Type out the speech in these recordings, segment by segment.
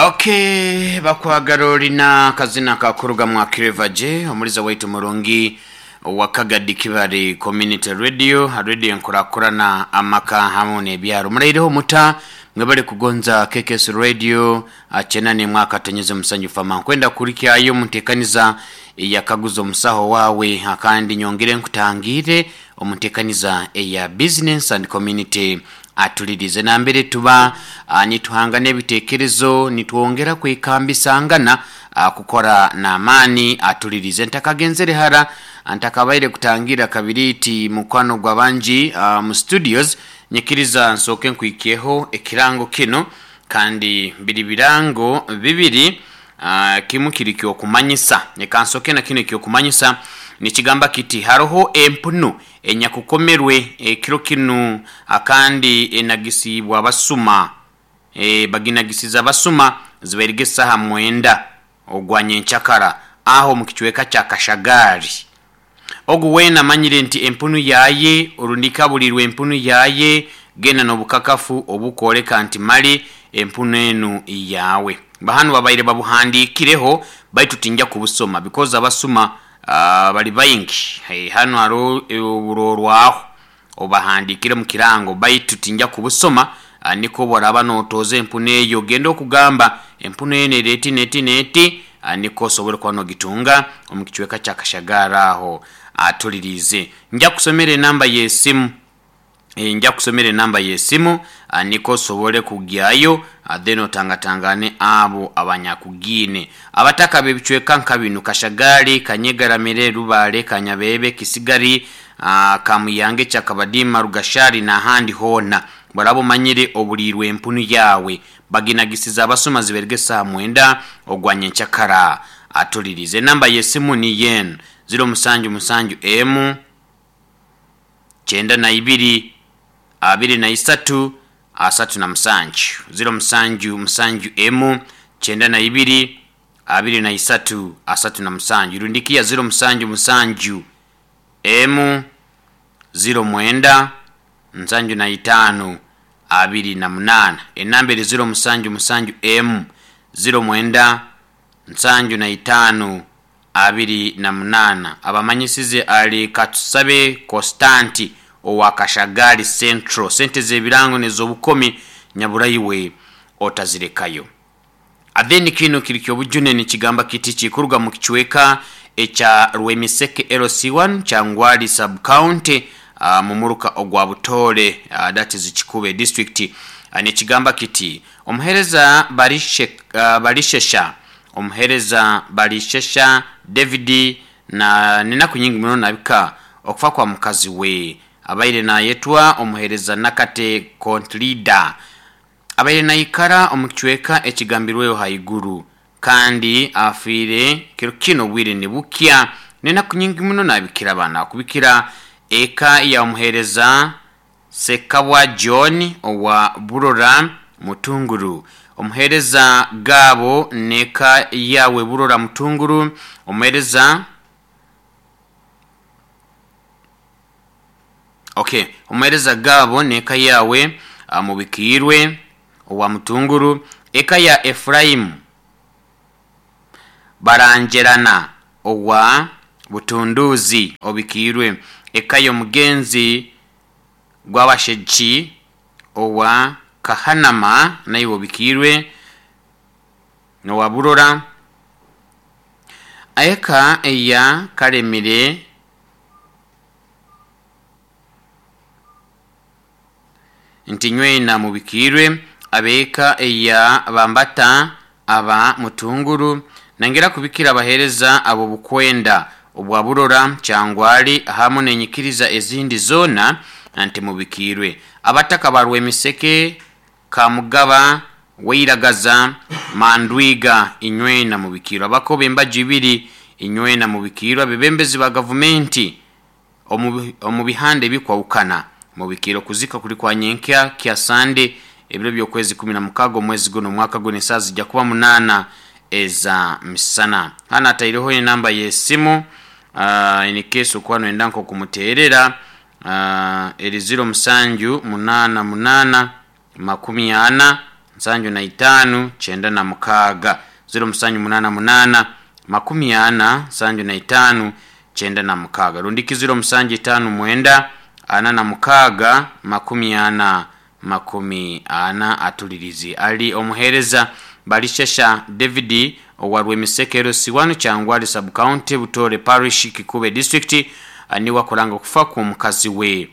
Ok, bakwagala olina akazina kakuruga mwa Clever J, omuliza waitu murungi owa Kagadi Kibale Community Radio, radio enkurakurana amaka hamu n'ebyaro. Muraireho muta mwebale kugonza KKS Radio acena nemwe akatonyeze musanyu fama. Nkwenda kurikyayo muntekaniza eyakaguza omusaho wawe akandi nyongere nkutangire omuntekaniza eya business and community atulirize nambere tuba nituhanga n'ebitekerezo nitwongera kwekambisangana kukora n'amaani atulirize ntakagenzere hara ntakabaire kutangira kabiriti mukwano gwa bangi mu studios nyikiriza nsooke nkwikyeho ekirango kino kandi biri birango bibiri kimu kiri kyokumanyisa leka nsooke na kino ekyokumanyisa nikigamba kiti haroho empunu enyakukomerwe ekiro kinu akandi enagisibwa abasuma baginagisiza abasuma zibairige esaha 9 ogwa nyenkyakara aho omu kicweka kya Kashagari. Ogu weena amanyire nti empunu yaye orundi kabulirwe empunu yaye genda n'obukakafu obukwoleka nti mali empunu enu yawe. Bahanu babaire babuhandikireho baitu tinja kubusoma because abasuma bali baingi. Hey, hanu hariho oburorwaho obahandikire mu kirango baitu tinja kubusoma niko boraba notoza empunu eyo genda okugamba empunu eno eri eti neti neti niko osobole kuba nogitunga omu kicweka kya Kashagari aho atulirize. Nja kusomera enamba y'esimu nja kusomera enamba y'esimu niko osobole kugyayo then otangatangane abo abanyakugiine. Abataka b'ebicweka nka binu Kashagari, Kanyegaramire, Rubale, Kanyabebe, Kisigari, Kamuyange, Kyakabadima, Rugashari n'ahandi hoona. Baraba omanyire oburirwe empunu yawe baginagisiza abasuma ziberge esaha 9 ogwa nyenkyakara atulirize. Enamba y'esimu ni yen 077 M 92 23 37 077 M 92 23 37 rundikia 077 M 09 75 28 enamba eri 077 M 09 75 28 abamanyisize ali Katusabe Constanti owa Kashagari Central. Sente z'ebirango n'ez'obukomi nyaburaiwe otazirekayo. Then kino kiri kyobujune nikigamba kiti kikuruga mu kicweka ekya Rwemiseke LC1 Kyangwali sub county mumuruka ogwa Butore that is Kikube district nikigamba kiti omuhereza Barishesha omuhereza Barishesha David na nenaku nyingi muno nabika okufa kwa mukazi we abaire nayetwa omuhereza Nakate Contlida abaire naikara omu kicweka ekigambirweho haiguru kandi afiire kiro kino obwire nibukya nenaku nyingi muno nabikira abaana akubikira eka ya omuhereza Sekabwa John owa Burora Mutunguru omuhereza Gabo neka yawe Burora Mutunguru omuhereza okay omuhereza Gabo neka yawe mubikirwe owa Mutunguru eka ya Efraimu Barangerana owa Butunduzi obikirwe eka y'omugenzi gw'abasheki owa Kahanama naiwe obikirwe nowa Burora eka eya Karemire nti nywena mubikirwe abeka eya Bambata aba Mutunguru nangera kubikira abahereza abo bukwenda obwa Burora Kyangwali hamu nenyikiriza ezindi zona nti mubikirwe abataka barwe emiseke Kamugaba Weiragaza Mandwiga inywena mubikirwe abakoba embaji ibiri inywena mubikirwe abebembezi ba gavumenti omu bihanda ebikwawukana mubikirwe kuzika kuli kwa nyenkya kya Sande ebiro by'okwezi 16 omwezi guno omwaka guno esaaha zijja kuba 8 eza misana. Hano ataireho enamba y'esimu in case okuba noyenda nk'okumuteerera eri 0788 40 75 96 0788 40 75 96 rundiki 0759 46 40 40 atulirizi ali omuheereza Balishesha David owa Rwemisekero Siwanu Kyangwali Sub-County Butore Parish Kikube District niwe akuranga okufa kw'omukazi we.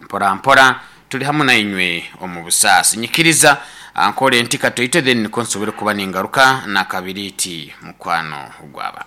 Mpora mpora turi hamu nainywe omu busaasi. Nyikiriza ankore nti katoito then nikwo nsobole kuba ningaruka nakabiriiti mukwano gw'abantu.